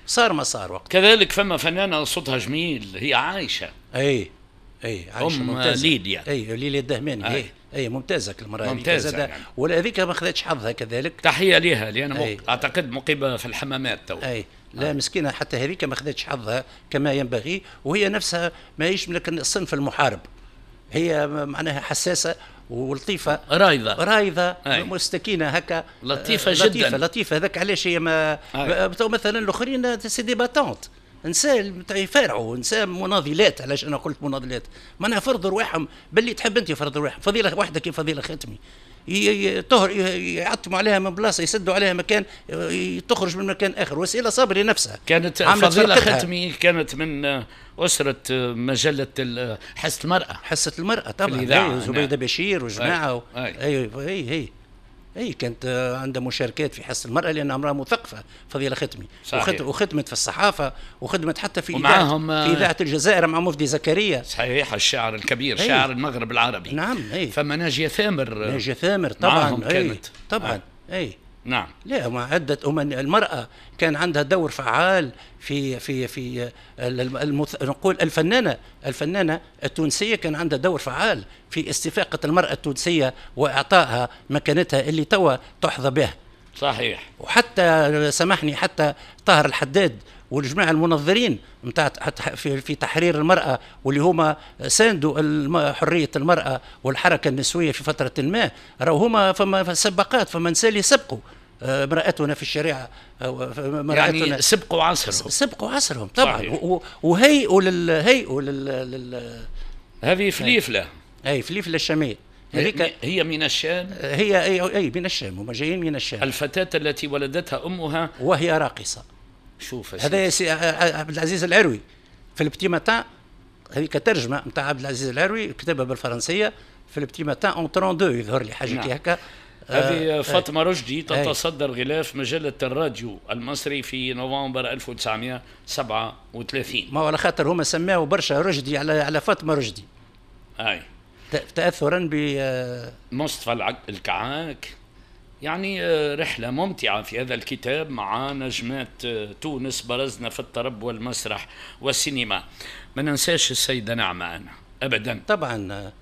صار ما صار وقت. كذلك فما فنانة صوتها جميل، هي عايشه. اي اي عايشه، أم ممتازه. ليليا. اي، ليليا الدهماني. أي. اي اي، ممتازة المراة. ممتازة يعني. ولا هذيك ما خذتش حظها كذلك. تحية لها، لان أي. اعتقد مقيمة في الحمامات تو. اي لا، مسكينه، حتى هذيك ما خذتش حظها كما ينبغي، وهي نفسها ما هيش من الصنف المحارب، هي معناها حساسة ولطيفه. رايضه. رايضه. أي. مستكينه هكا. لطيفة لطيفة جداً. لطيفه، هذاك علاش هي ما أي. تو مثلا الاخرين c'est des battantes، نساء يفارعوا، نساء مناضلات. علاش انا قلت مناضلات؟ معناها فرضوا رواحهم باللي تحب انت، فرضوا رواحهم. فضيلة واحدة كيف فضيلة ختمي، طهر يعتموا عليها من بلاصه، يسدوا عليها مكان، تخرج من مكان اخر. وسيلة صبري نفسها كانت عملت فضيلة فرقتها. ختمي كانت من أسرة مجلة حصة المرأة. حصة المرأة طبعا. الإذاعة، أي، زبيدة بشير وجماعة أي. اي اي اي اي، كانت عندها مشاركات في حصة المرأة لأنها امرأة مثقفة فضيلة ختمي. وخدمت في الصحافة وخدمت حتى في ومعاهم، إذاعة، في إذاعة الجزائر مع مفدي زكريا. صحيح، الشاعر الكبير. أي. شاعر المغرب العربي. نعم، اي. فما ناجية ثامر. ناجية ثامر طبعا. معاهم أي. كانت. طبعا، اي. لا، مع عدة أمم المرأة كان عندها دور فعال في نقول الفنانة التونسية كان عندها دور فعال في استفاقة المرأة التونسية وإعطائها مكانتها اللي توا تحظى بها. وحتى سامحني، حتى طاهر الحداد والجماعة المنظرين نتاع في تحرير المرأة، واللي هما ساندوا حرية المرأة والحركة النسوية في فترة ما، راهو هما فما سباقات، فما نساء اللي سبقوا امرأتنا في الشريعة امرأتنا. يعني سبقوا عصرهم. سبقوا عصرهم طبعا. صحيح. وهيئوا هيئوا لل هذه فليفلة. اي، فليفلة الشامية هذيك. هي من الشام. هي اي من الشام، هما جايين من الشام. الفتاة التي ولدتها أمها وهي راقصة. شوف يا هذا سيدي. سي عبد العزيز العروي في ال Petit Matin، هذيك ترجمه نتاع عبد العزيز العروي، كتبها بالفرنسيه في ال Petit Matin en 32 يظهر لي، حاجة كي هكا. هذه فاطمة رشدي تتصدر غلاف مجلة الراديو المصري في نوفمبر 1937. ما هو على خاطر هما سماو برشا رشدي على فاطمة رشدي. تاثرا ب مصطفى الكعاك. يعني رحلة ممتعة في هذا الكتاب مع نجمات تونس برزنا في الطرب والمسرح والسينما. ما ننساش السيدة نعمة أنا أبدا. طبعا.